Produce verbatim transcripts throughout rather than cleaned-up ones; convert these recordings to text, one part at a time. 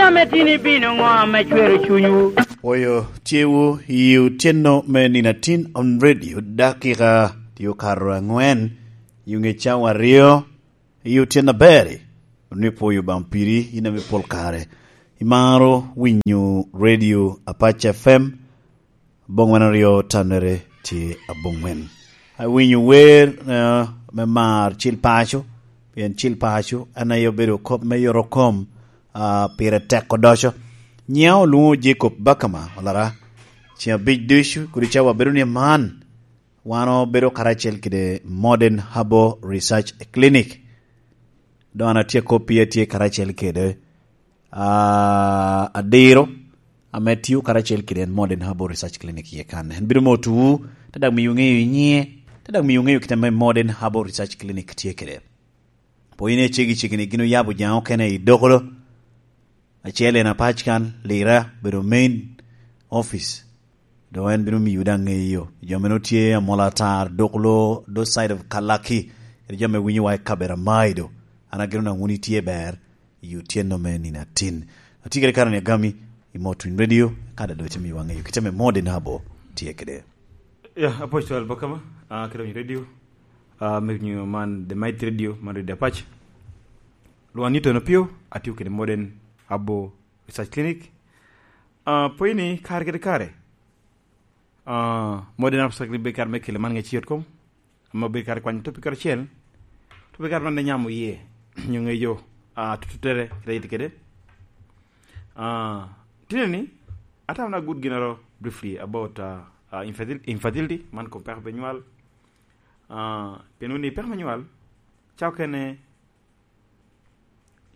Ame tin ibino ŋo ame cwero cunywu? Pwoyo tyewu i otyeno me nino atin on radio, dakika tye okato angwen i ŋe cawa aryo. I otyeno aber-ri, onwoŋo ipwoyo Obaŋa piri, in ame pol kare imaro winyo radio Apac F M, aboŋ wan aryo tannere tye aboŋwen. Awinyo wer, eh, me mar Cil Paco, pien Cil Paco en aye obedo kop me yoro kom, ah, pire tek odoco. Nyiŋa olwoŋo Jacob Bakama, olara. Ceŋ abic ducu, kodi cawa bedo ni man, wan obedo karacel kede Modern Herbal Research Clinic. Doŋ an atye kop pii atye karacel kede, ah, Adiro, ame tio karacel kede en Modern Herbal Research Clinic iye kan. En bino motowu, te daŋ miyo ŋeyo i nyiŋe, te daŋ miyo ŋeyo kite ame Modern Herbal Research Clinic tye kede. Po in ecegi cegini gin oyabo jaŋ okene i Dokolo. Acel en Apac kan, Lira, bedo main office. Doŋ en bino miyo daŋ ŋeyo. Jo meno tye Amolo Atar, Dokolo, those side of Kalaki. Kede jo me winyo wa i kabera Maido. An ageno daŋ wun itye ber i otyeno me nino atin. Atye kede Karani Agami i Motwin Radio, ka daŋ doŋ itye miyo wa ŋeyo kite me Modern Herbal tye kede. Ya, Apostle Bakama, ah, kede Winyo Radio, ah, me winyo man, The Mighty Radio, man Radio Apac. Lwon Newton Opio, atio kede Modern Herbal Research Clinic. Ah, po ini kare kede kare, ah, Modern Herbal Research Clinic bedo kare me kelo man ŋec yot kom, ame obedo kare kwanyo topic karacel. Topic kare man ne nyamo iye, nyo ŋeyo, ah, tututere, kede yit kede. Ah, tine ni, atamo na good ginaro briefly about, ah, ah, infertil-, infertility, man kom peko pe nywal. Ah, pien wun ni peko me nywal, ca okene,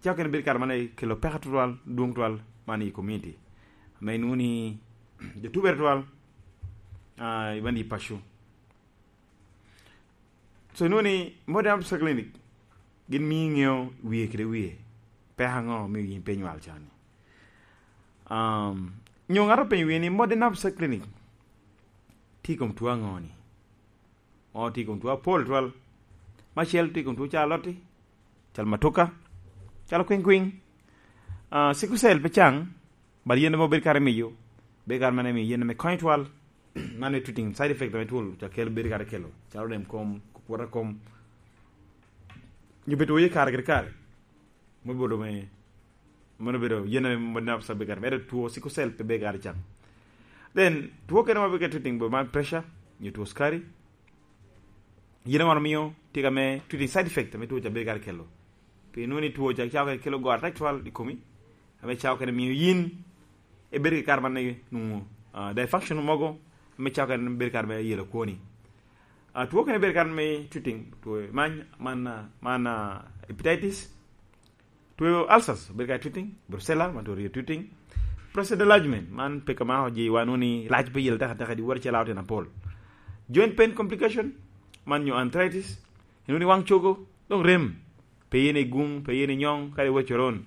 ca okene bedo kare man kelo peko tutwal, dwong tutwal man i community. Ame inwoŋo ni jo tubere tutwal, ah, i bandi i paco. So, inwoŋo ni Modern Herbal Clinic, gin mio iŋeo wie kede wie. Peko aŋo mio yin pe nywal cani? Um, nyo ŋato openyo wie ni Modern Herbal Clinic tye i kom tuo aŋo ni? Ŋo tye i kom tuo apol twal? Macel tye i kom tuo calo lotti, calo matuka, calo kwiŋ kwiŋ. Ah, sickle cell pe caŋ, but yen ame obedo kare miyo, bedo kare man emiyo yen ame konyo twal. Man me treating side effect ame twol ca kelo, bedo kare kelo, calo rem kom, kukwota kom. Nyo bedo i kare kede kare. Me bolo me, mano bedo yen ame Modern Herbal bedo kare, ento tuo sickle cell pe bedo kare caŋ. Then, tuo kene ma bedo kede treating bo man pressure, nyo tuo sukari, yen ame mio tye ka me treating side effect ame tuo ca bedo kare kelo. Pi nwoŋo ni tuo ca, ca okene kelo goro atek twal i komi, ame ca okene mio yin ibedo ki kare man nwoŋo, ah, dysfunction mogo, ame ca okene bedo kare me yelo kwoni. Ah, tuo okene bedo kare me treating, tuo man, man, ah, man, ah, hepatitis, tuo ulcers, bedo ka treating, brucella, man tuo ryo treating. Prostate enlargement, man peko ma ojiwa nwoŋo ni lac pe yel teka teka, di wot acel aoten apol. Joint pain complication, man nyo arthritis, inwoŋo ni waŋ cogo, dok rem, pe yen i gum, pe yen i nyoŋ, kadi wot coron,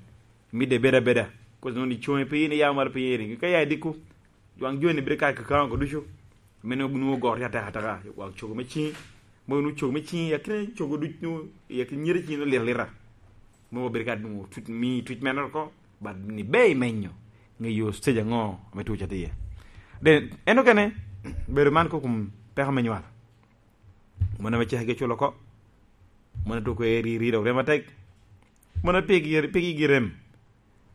midde beda beda. Kos nwoŋo ni coŋe pe yen i yamo malo, pe yen i ringi, ka ya i diko, waŋ joni bedo ka kakaŋo ko ducu. Meno nwoŋo goro tye ateka ateka, waŋ cogo me ciŋi. Mogo nwoŋo cogo me ciŋi, akina cogo duc nwoŋo, i akina nyere ciŋi nwoŋo lit alita. Mogo bedo ka nwoŋo tut, mi tut meno oko, but ni be imenyo, ŋeyo stage aŋo ame tuo ca tye iye. Then, en okene, bedo man ko kom peko me nywal. Mon ame cekgi oculo oko. Mon ame tuko eri, ri dok rem atek. Mon ame pigi, pigi gi rem.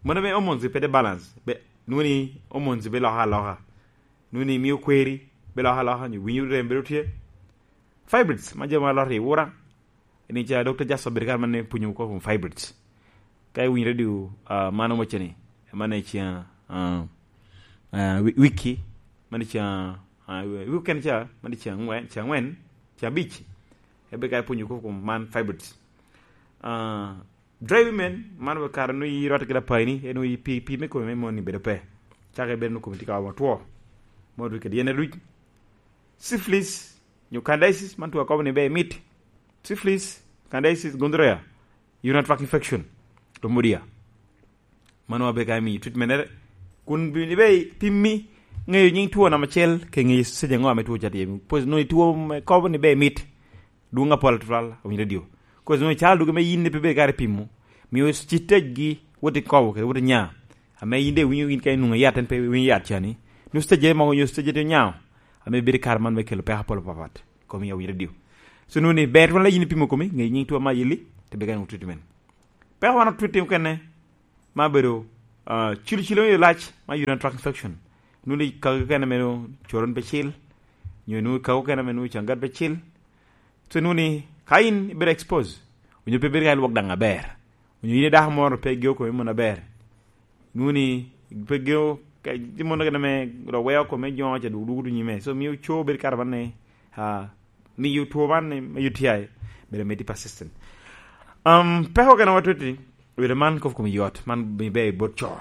Mon ame hormones pe tye balance. Be, nwoŋo ni hormones be loko aloka. Nwoŋo ni mio kweri be loko aloka, nyo winyo rem bedo tye. Fibroids, ma jo ma loro i wura. Ni ca Doctor Jasso bedo kare man pwonyo oko kom fibroids. Ka iwinyo radio, ah, man omoce ni, man i ceŋ, ah, ah, wi-, wiki, man i ceŋ, ah, wi-, weekend ca, man i ceŋ angwen, ceŋ angwen, ceŋ abic. Ebe ka ipwonyo kop kom man fibroids. Ah, dry women, man we kare nwoŋo i rwatte kede apaini, en nwoŋo i pi, pi me kome me mon ni bedo pe. Caka ibedo nwoŋo kome tye ka omo two. Modo kede yen aruc. Syphilis, nyo candidiasis, man tuo akobo ni be mit. Syphilis, candidiasis, gonorrhea, urinary tract infection, chlamydia. Mano abe ka imiyo treatment mere. Kun bini be pimmi ŋeyo nyiŋ tuo namba acel, ke ŋeyo stage aŋo ame tuo ca tye. Pwod nwoŋo tuo me kobo ni be mit. Dwoŋ apol atwal, awinyo radio. Kos nwoŋo icalo dwogo me yin pe bedo kare pimo. Mio ci tejgi, wot i kobo kede wot i nya. ame yin de iwinyo yin ka inwoŋo yat, en pe winyo yat ca ni, nus stage mogo nyo stage te nyao, ame bedo i kare man me kelo peko apol apapat. Komi awire dio. So, nwoŋo ni ber twon la yin ipimo komi, ŋe nyiŋ two ma yelli, te beka nwoŋo treatment. Peko wan otwit timo kene, ma bedo, ah, cilo cilo yo lac, ma urinary tract infection. Nwoŋo ni kagi kene meno coron pe cil, nyo nwoŋo kagi kene meno cangat pe cil. So, nwoŋo ni ka in ibedo expose, onyo pe bedo ka ilwok daŋ aber, onyo yin i dako moro pe geo kome mono aber, nwoŋo ni pe geo, ka, tye mono kene me ro weo kome joŋo ca duk dugo nyime. So, mio co bedo kare man ni, ah, miyo two man ni, me U T I, bedo miti persistent. Um, peko kene watwiti, bedo man kop kom yot, man be, be bot co.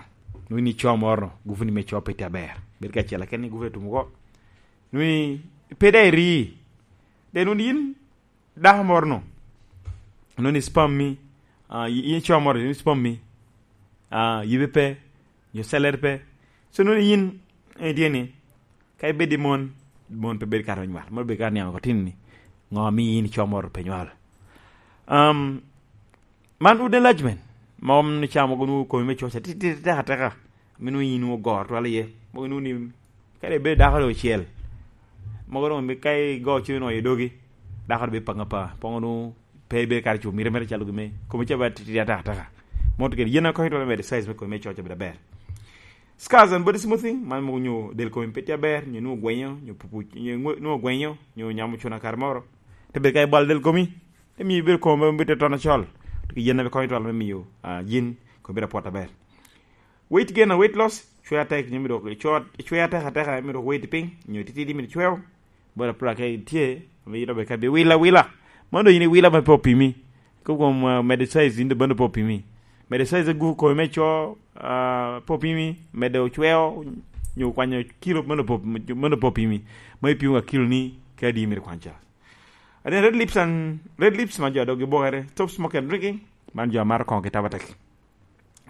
Nwoŋo ni co moro, gufu ni me co pe tye aber. Bedo ka acel aken ni gufu etum oko. Nwoŋo ni pe da iri. De nwoŋo ni yin dako moro no, nwoŋo ni sperm mi, ah, i, i co moro, nwoŋo ni sperm mi, ah, yibe pe, nyo cellere pe. So, nwoŋo ni yin, eh, tye ni, ka ibed i mon, mon pe bed kare me nywal. Mon bed kare niaŋ oko tin ni, ŋo mi yin ico moro pe nywal? Um, man wood enlargement, ma om ni ca mogo nwoŋo komi me coca ti, ti, tek ateka, ame nwoŋo yin nwoŋo ogoro twal iye. Mogo nwoŋo ni, kadi ibed dako do ocel, mogo nwoŋo mi ka igo cen nwoŋo i dogi, dako do bed paŋ apa, poŋo nwoŋo pe ibed kare cu mire mere calo gin me, komi ca bed ti, ti, tek ateka. Moto kede yen akonyo twal me medo size me komi me coca bedo aber. Scars and body smoothing, man mogo nyo del komi pe tye aber, nyo nwoŋo gwenyo, nyo pupu, nyo nwo-, nwoŋo gwenyo, nyo nyamo cuna kare moro. Te bed ka ibalo del komi, te mio ibedo komi me bito tono col. Te ki yen abe konyo twal me mio, ah, yin komi bedo apwot aber. Weight gain and weight loss, cwer atek, nyo me dok icwer, icwer atek ateka, me dok weight piny, nyo titidi me cweo. Boda pula ka itye, ame yin obe ka bi wila, wila. Mano doŋ yin iwila ma pe opimi. Kop kom, ah, medo size, yin doŋ bano pe opimi. Medo size agu komi me co, ah, pe opimi, medo cweo, nyo kwanyo kilo, mano pe op-, mano pe opimi. Ma ipimo ka kilo ni, ka adi myero kwan ca. And then red lips and, red lips ma jo a dog gibokere, stop smoking and drinking, man jo a maro koŋo ki taba tek.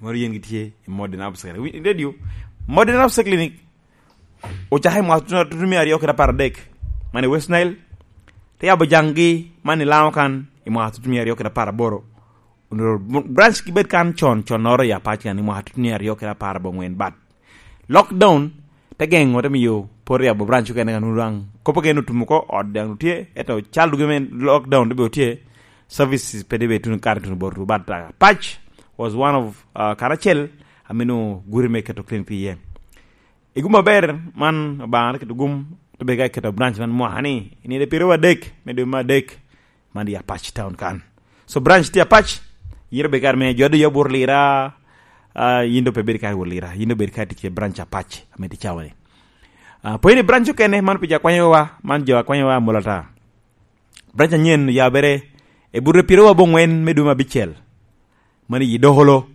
Moro yen gitye i Modern Herbs Clinic. Wi-, radio, Modern Herbs Clinic ocako i mwaka tutumia aryo kede apar adek, man i West Nile. Te yabo jaŋgi man i Laŋo kan i mwaka tutumia aryo kede apar aboro. Onwoŋo branch gibed kan con, connoro i Apac kan i mwaka tutumia aryo kede apar aboŋwen. But lockdown te geŋo, te mio pwod yabo branch okene kan, onwoŋo daŋ kop okene otum oko, ot daŋ tye, ento cal dwogo me lockdown te bed tye, services pe debe tuno kare tuno bot Apac was one of, uh, karacel ame nwoŋo gure me keto clinic tye iye. I gum aber man, Obaŋa te keto gum, te bed ka keto branch man mwaka ni, i nino pyeraryo adek me dwe me adek, man i Apac Town kan. So branch tye Apac, yero bed kare me jo doŋ ya bur Lira, ah, yin doŋ pe bedo kare wot Lira, yin doŋ bed kare tic i branch Apac, ame tye cawa ni. Ah, pwod ni branch okene, man pi jo akwanyowa, man jo akwanyowa amul ata. Branch anyen oyabere, i bute pyeraryo aboŋwen me dwe me abicel, man i Dokolo,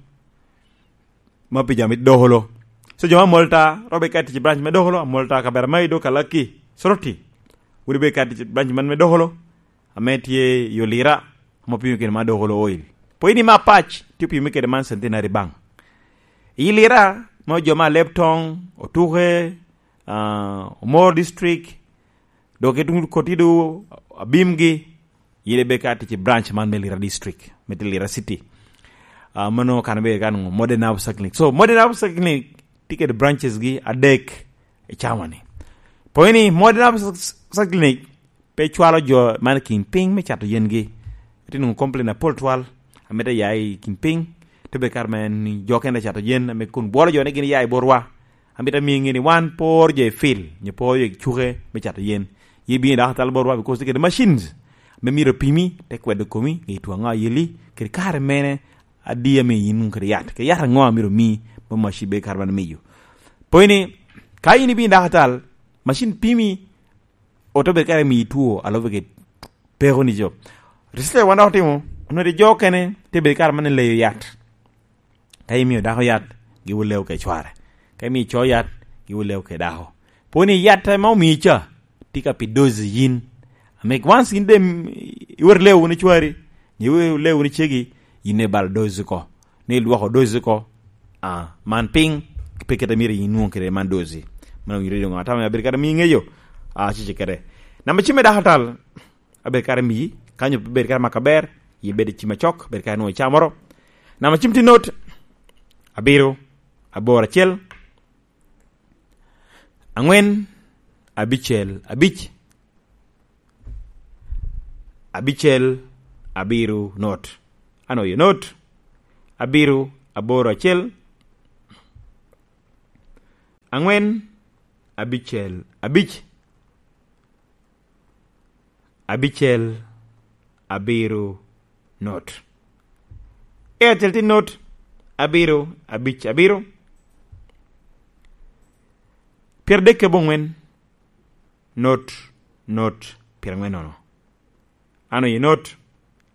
ma pi jo a mito Dokolo. So jo me Amolta, robe ka tic i branch me Dokolo, Amolta, kabera ma i do Kalaki, Soroti. Wun ibe ka tic i branch man me Dokolo, ame tye i Olira, ame opimo kede man Dokolo Oil. Pwod ni me Apac, tye opimo kede man Centenary Bank. I Lira, ma jo me Alebtong, Otuke, ah, Omoro District, dok i tuŋ Kotido, Abimgi, yin ibe ka tic i branch man me Lira District, me tye Lira City. Ah, mano kan ibe kan ŋo, Modern Herbs Clinic. So, Modern Herbs Clinic tye kede branches gi adek i cawa ni. Pwod ni Modern Herbs Clinic pe cwalo jo man i kin piny me cato yen gi. Itye nwoŋo complain apol twal, ame te ya i kin piny, te bed kare ma en ni jo kene cato yen, ame kun bwolo jo ni gin ya i botwa. Amito amiyo ŋe ni wan pe oworo jo i field, nyo pe oworo jo i cuke me cato yen. Yin ibino i dako atal botwa, because tye kede machines me myero opimi, te kwedo komi, ŋe itwon aŋo a yelli, kede kare mene adi ame yin nwoŋo kede yat, kede yat aŋo a myero omi, ma machine bedo kare man miyo. Pwod ni, ka yin ibino i dako atal, machine pimi, ote bedo kare miyi two, a lube kede peko ni jo. Research wan dok otimo, onwoŋo jo okene te bedo kare man leyo yat. Ka imio dako yat, giwot leo kede cware. Ka imio co yat, giwot leo kede dako. Pwod ni yat ame omii ca, tye ka pi dozi yin. Ame once yin de, mm, iwot leo wunu cwari, ni iwot leo wunu cegi, yin ibalo dozi oko. Ni ilwoko dozi oko, ah, man piny, pe kite myero yin nwoŋo kede man dozi. Man owinyo doŋ atamo ni abedo kata miŋeyo, ah, cece kede. Namba cim me dako atal, abedo kare miyi, ka nyo pe bedo kare maka ber, yi bedo cim acok, bedo kare nwoŋo icamoro. Namba cim tye not, abiro, aboro acel, angwen, abicel, abic, abicel, abiro, not. Ano ye not? Abiro, aboro acel, angwen, abicel, abic, abicel, abiro, not. Airtel tye not, abiro, abic, abiro, pyeradek abongwen, not, not, pyerangwen nono. Ano ye not,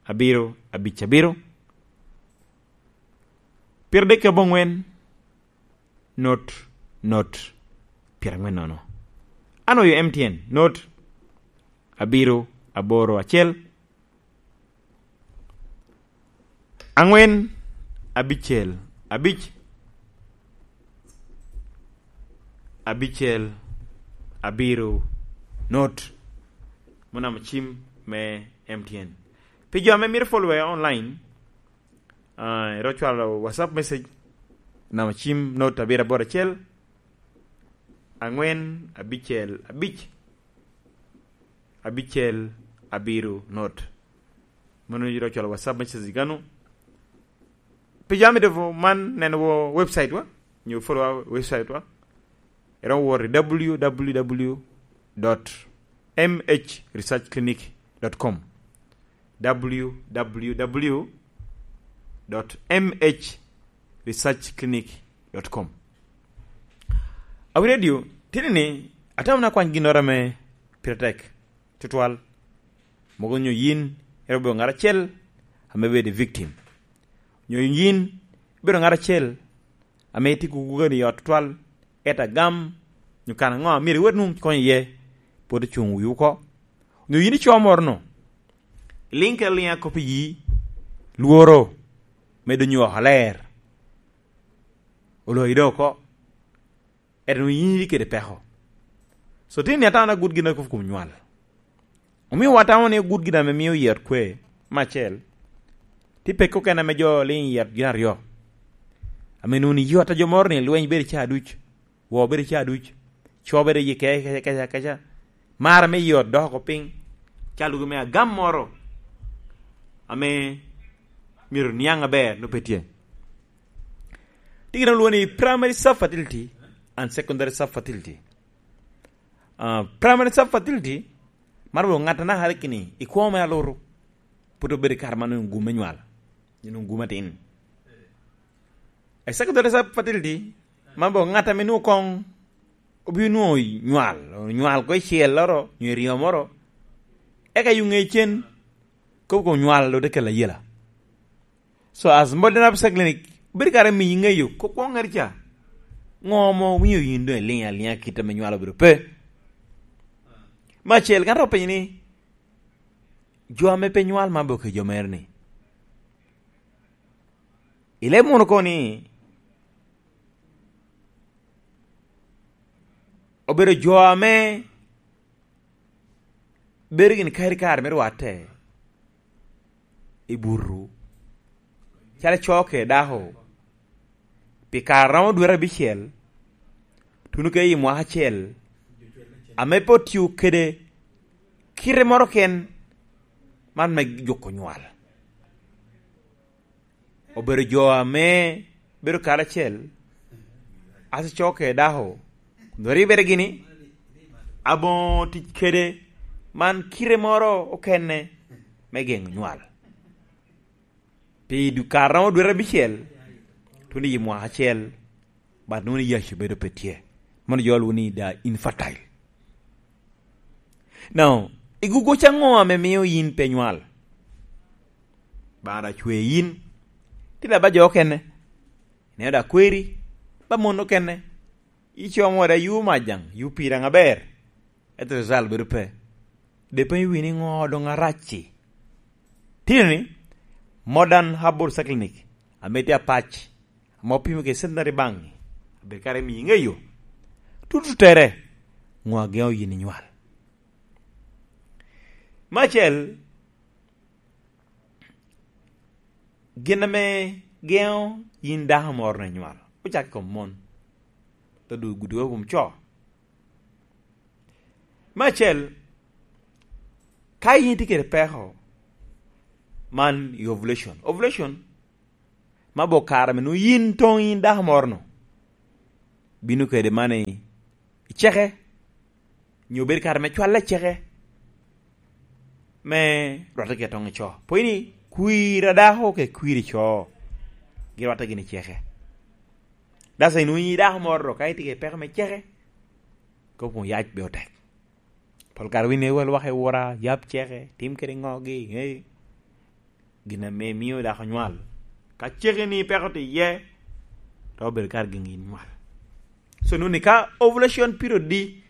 abiro, abic, abiro, pyeradek abongwen, not, not, pyerangwen nono. Ano ye M T N, not, abiro, aboro, acel, angwen, abicel, abic, abicel, abiro, not. Mano namba cim me M T N. Pi jo ame mito follow online, ah, ero cwalo WhatsApp message, namba cim not abiro aboro acel, angwen, abicel, abic, abicel, abiro, not. Mano yito cwalo WhatsApp message gano. Pi jo ame dobo man neno wo website wa, nyo follow wa website wa. Ero wor i w w w dot m h research clinic dot com. W W W dot M H research clinic dot com. Awi radio, tini ni, atamo na kwany ginnoro ame pire tek tutwal. Mogo nyo yin, ero bedo ngat acel ame bedo i victim. Nyo yin, bedo ngat acel ame itye gugugani i ot tutwal, et agam, nyo kan aŋo a myero iwot nwoŋo konyo iye, pwod ocuŋ wi oko. Nyo yin ico moro-nu, iliŋ kede liŋ akop i yi, lworo medo nyo oko aler, oloyi doŋ oko, et nwoŋo yin itye kede peko. So, tin ni atamo na gut gin akobo kom nywal. Omio watamo ni gut gin ame mio yot kwe, me acel, tye peko kene ame jo liŋ yot gin aryo. Ame nwoŋo ni yot a jo moro ni lweny bedo i caa duc, woo bedo i caa duc, co bedo i ke-, keca, keca, keca. Mar ame yot dok oko piny, calo me agam moro ame myero niaŋ aber, no pe tye. Tye gin olwoŋo ni primary subfertility and secondary subfertility. Ah, primary subfertility, mar bedo ŋat anaka kini, i kwo me aluru, pwod obedo i kare man onwoŋo gum me nywal, onwoŋo gum atin. A secondary subfertility, man bedo ŋat ame nwoŋo koŋ obino nwoŋo nywal, nywal ko i celloro, nyo i ryo moro, eka yuŋe cen, kobo kom nywal dok te kelo ayela. So, as modern obstetric clinic, bedo kare miyi ŋeyo kop kwoŋŋere ca. Ŋo mo omio yin doŋ iliŋ aliŋa kit ame nywal obedo pe? Me acel, kan ro penyo ni, jo ame pe nywal man boke jo mere ni, ileb mono ko ni, obedo jo ame bedo gin kadi kare me rwatte i butu, calo co kede dako, pi kare romo dwete abicel, tuno kede i mwaka acel, ame pe otio kede kite moro ken, man me juko nywal. Obedo jo ame bedo karacel, aco co kede dako, kun oribere gini, aboŋo tic kede man kite moro okene me geŋo nywal. Pi du-, kare romo dwete abicel, tuno i mwaka acel, but nwoŋo ni yac obedo pe tye. Mano jo lwoŋo ni they are infertile. Now, igugo ca ŋo ame mio yin pe nywal? Baŋa da cwe yin. Tye da ba jo okene. Ineno da kweri, ba mon okene. Icomo da yu majaŋ, yu pira ŋa ber. Ento result bedo pe. De penyo wi ni ŋo doŋ arac-ci. Tye ni, modern herbal clinic, ame tye apac, ame opimo kede centenary baŋ-ŋi, abedo kare miyo iŋeyo tutu tere, ŋo ageŋo yin inywal. Me acel, gin ame geŋo yin dako moro ni nywal, Ocako i kom mon, te du-, gudugo i kom co. Me acel, ka yin itye kede peko, man i ovulation. Ovulation, ma bo kare ame nwoŋo yin toŋ yin dako moro-nu, bino kede man i, i ceke, nyo bedo kare me cwalle i ceke, me rwatte kede toŋ i co. Pwod ni kwir a dako kede kwir i co, girwatte gin i ceke. Dasa inwoŋo i dako moro, ka itye kede peko me ceke, kop kun yac be otek. Pol kare winy iwel waka i wora, yab ceke, tim kede ŋogi, ŋe, gin ame mio dako nywal. Ka ceke ni peko tye iye, to obedo kare gin nywal. So, nuni ka ovulation period di,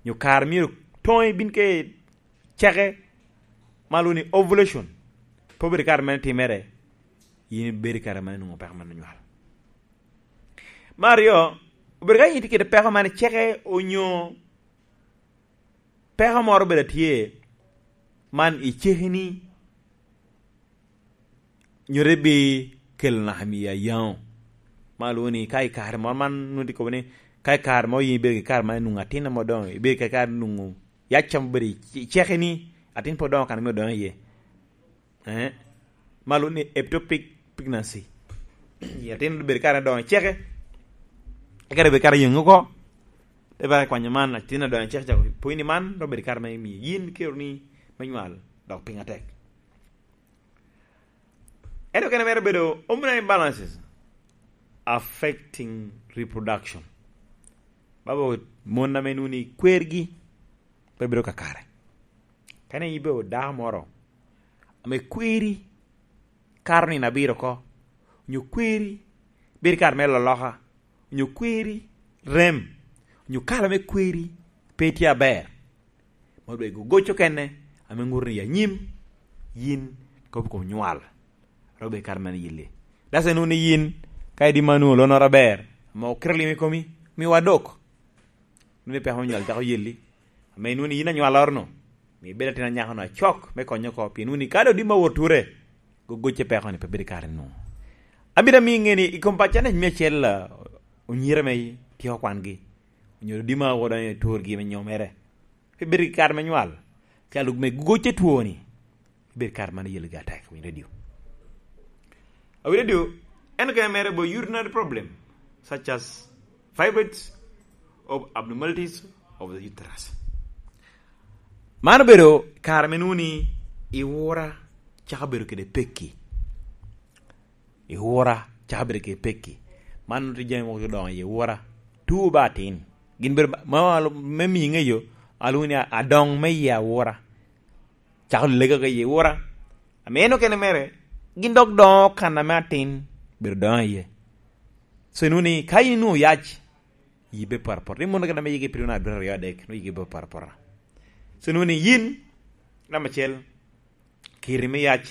nyo kare myero toŋi bin ke ceke, ma lwongo ni ovulation, pe obedo kare mene timere, yin ibedo kare mene nwoŋo peko mene nywal. Me aryo, obedo ka yin itye kede peko mene ceke onyo peko moro obedo atye man i cekeni, nyo te bi kelo naka miyo ayaŋo. Ma lwongo ni ka i kare moro man nwoŋo tye kobo ni, ka i kare moro yin ibedo ki kare man nwoŋo atin ame odoŋo, ibedo ki kare nwoŋo yac ca obedo i ce-, cekeni, atin pe odoŋo kan ame odoŋo iye. Eh? Ma lwongo ni ectopic pregnancy. I atin obedo kare odoŋo i ceke, eka obedo kare yeŋe oko. Te bara kwanyo man, atin odoŋo i ceke ca, pwod ni man, dok obedo kare me miyo yin kero ni me nywal, dok piny atek. Ento kene mere obedo hormonal imbalances affecting reproduction. Babo mon ame nuni kwergi pe bedo kakare. Kene ibedo dako moro ame kweri kato nino abiro oko, onyo kweri bedo kare me loloka, onyo kweri rem, onyo kala me kweri pe tye aber, ma odwego goc okene ame ŋuto ni anyim yin kop i kom nywal. Robe kare mene yelli. Dasa nwoŋo ni yin, ka idi ma nwoŋo lonnoro aber, ame okito lim i komi, miwa dok. Nwoŋo ni peko me nywal cako yelli. Ame nwoŋo ni yin anywaloro-nu, mi ibedo atin anyako-nu acok me konyo oko, pien nwoŋo ni ka dok di ma wot ture, go gocce peko-ni pe bedo kare nwoŋo. Abino amiyo iŋe ni i kom pacca ni me acel, ah, onyira me tye okwangi, onyo di ma wot i turgi me nyomere. Pe bedo ki kare me nywal. Calo me gocce twoni, bedo kare man iyelgi atek, winyo redio. Awi redio, en kene mere bo urinary problem, such as fibroids of abnormalities of the uterus. Man obedo kare me nwoŋo ni i wora cako bedo kede pekki. I wora cako bedo kede pekki. Man tye jami mogo odoŋo i wora. Tuo ba atin. Gin bedo ma, ma, me miŋe yo, alwongo ni adoŋ me i awora. Cako lega ka i wora. Ame en okene mere, gin dok doŋo kan ame atin, bedo doŋo iye. So, inwoŋo ni, ka in inwoŋo yac, yi be poro apora. Ni mono kene ame yigi pirino abiro aryo adek, nwoŋo yigi be poro apora. So, inwoŋo ni yin, namba acel, kiri me yac,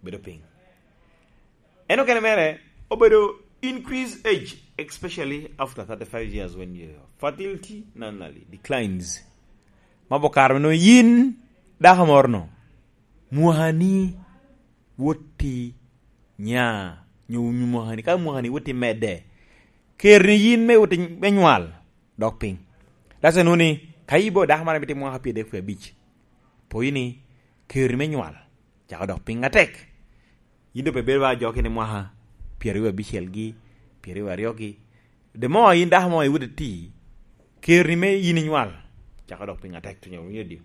bedo piny. En okene mere, obedo increase age, especially after thirty-five years when your fertility normally declines. Ma bo kare no yin dako moro no, mwakani wot i nya, nyo, nyo mwakani, ka mwakani wot i medde, ker ni yin me wot i, me nywal, dok piny. That's why nwoŋo ni, ka ibo dako mara mito mwaka pyeradek pyeradek, po ni ker ni me nywal, cako dok piny atek. Yin doŋ pe bedo ba jo kene mwaka pyeraryo abicel gi, pyeraryo aryo gi. The more yin dako mo iwot iti, ker ni me yin inywal, cako dok piny atek, tunya winyo di.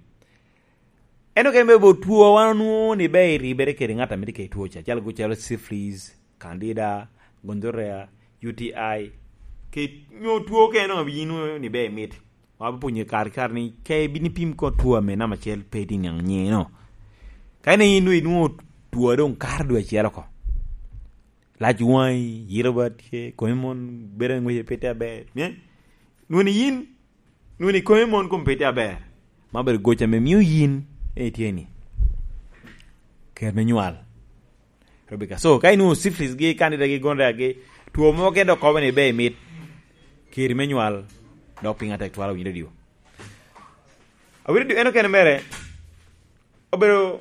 En okene bene bo two wan onwoŋo ni be iribere kede ŋat a mito kede two ca, calo, calo syphilis, candida, gonorrhea, U T I, ke nyo two okene nwoŋo yin onwoŋo ni be imit. Wa be pwonyo kare kare ni ke ibin ipim ko two ame namba acel pe itye niaŋ nyiŋe no. Ka in onwoŋo inwoŋo two a doŋ kato dwe acel oko. Lac waŋi, yito ba tye, komi mon bedo angwece pe tye aber. Mien? Nwoŋo ni yin, nwoŋo ni komi mon kom pe tye aber. Ma obedo goc ame mio yin en itye ni. Ker me nywal. Rebecca. So, ka inwoŋo syphilis gi, candida gi, gonorrhea gi, two mo kene dok kobo ni be imit. Ker me nywal, dok piny atek twala winyo radio. Awinyo radio en okene mere, obedo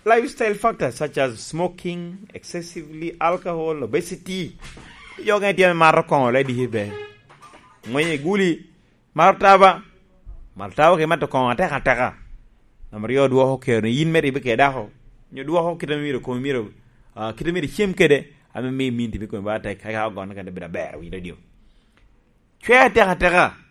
lifestyle factors such as smoking, excessively alcohol, obesity, Jo gen tye ame mato koŋo le diki be. Ŋwenyo i guli, mato taba. Mato taba ke mato koŋo ateka ateka. Namba ryo dwoko kero ni yin mere ibe ke dako. Nyo dwoko kite ame myero komi myero, ah, kite myero icem kede, ame mi min timi komi ba tek, ka ka ogonne kede bedo aber, winyo radio. Cwe ateka ateka.